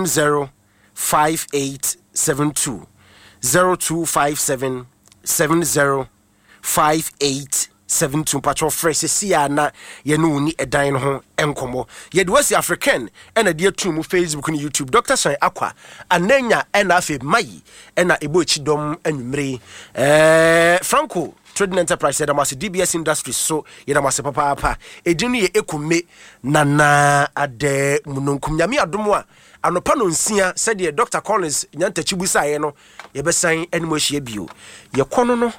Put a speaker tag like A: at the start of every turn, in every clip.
A: 70 5872 0257 70 5872 mpakyɛw frɛ sɛsi a na yɛne wo ni ɛdan no ho nkɔmmɔ. Yɛde wasi African ɛna de atum mu Facebook ne YouTube. Dr. San Akwa Ananya ɛna afei Mayi ɛna ɛbɔ akyi dɔm anwummere. Ɛɛ Franco Trading Enterprise yɛda mo ase, DBS Industries so yɛda mo ase papaapa. Edin no yɛ Ekume Nana Adɛ Mununkum. Nyame adom a anɔpa no nsia sɛdeɛ Dr. Collins Nyantakyi busaeɛ no yɛbɛsan ne mo ahyia bio. Yɛkɔ no no.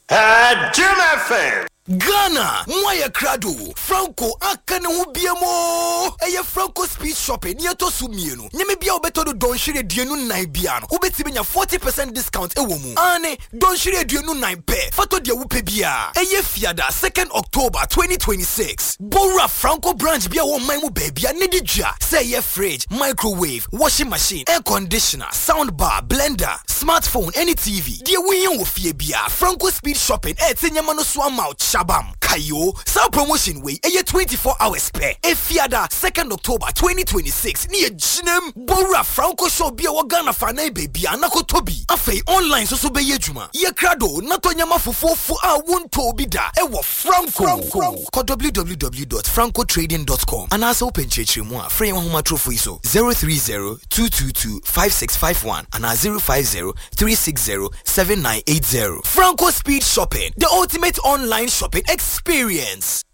B: Jim FM.
C: Ghana mo ayɛ krado, Franco aka ne ho biam oo! Ɛyɛ Franco Speed Shopping nea ɛtɔ so mmienu. Nneɛma biara a wobɛtɔ no dɔnhwere 24 biara no, wobɛtumi anya 40 percent discount wɔ mu. Aane, dɔnhwere 24 pɛ, fa tɔ deɛ wopɛ biara. Ɛyɛ Fiada, second October, 2026. Bɔ wura Franco branch bi a ɛwɔ ɔman mu baabiara na di dwa, sɛ ɛyɛ fridge, microwave, washing machine, air conditioner, sound bar, blender, smartphone ɛne TV. Deɛ wohia wɔ fie biara, Franco Speed Shopping ɛrete nneɛma no so ama wo kyabam. Kae o, saa promotion wei ɛyɛ 24 hours pɛ. Efiada, 2nd October 2026 ne yɛgyinam. Bɔ wura Franco shop bi a ɛwɔ Ghana faanan baabiara na kɔtɔ bi. Afei online nso so bɛyɛ adwuma. Yɛ krado na tɔ nneɛma fofoofo a wontɔɔ bi da ɛwɔ Franco. Kɔ www.francotrading dot com anaasɛ wopɛ nkyerɛkyerɛmu a, frɛ yɛn ahomatorofo yi so, 030 222 5651 anaa 050 360 7980. Franco Speed Shopping, the ultimate online shopping experience.